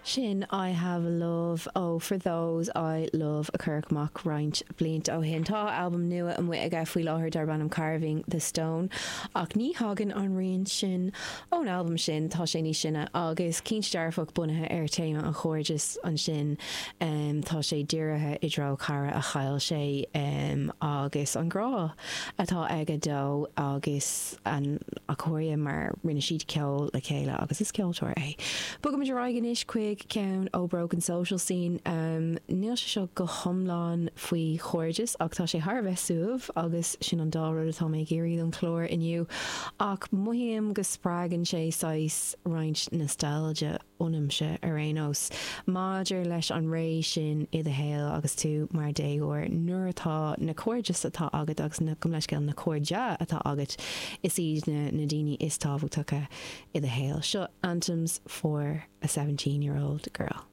Sin I Have a Love ó For Those I Love a cuireadh amach roinnt blianta ó shin. Tá albam nua amuigh aige faoi láthair darb ainm Carving the Stone ach ní thagann an rian sin ón albam sin, tá sé níos sine agus cinnte dearfach bunaithe ar téama an chairdis ansin. Tá sé dírithe i dtreo cara a chaill sé agus an grá atá aige dó agus a chairde mar rinne siad ceol le chéile agus is ceoltóir é. Bogaimid ar aghaidh anois chuig ceann ó Broken Social Scene. Níl sé seo go hiomlán faoi chairdeas ach tá sé thar a bheith suaimh agus sin an dá rud atá mé ag iarraidh don chlár inniu ach mothaím go spreagann sé saghas roinnt nostalgia ionamsa ar aon nós, maidir leis an ré sin i do shaol agus tú mar déagóir, nuair atá na cairdis atá agat agus na, gabh mo leithscéal, na cairde atá agat, is iad na na daoine is tábhachtacha i do shaol. Seo Anthems for a 17 Year Old Girl.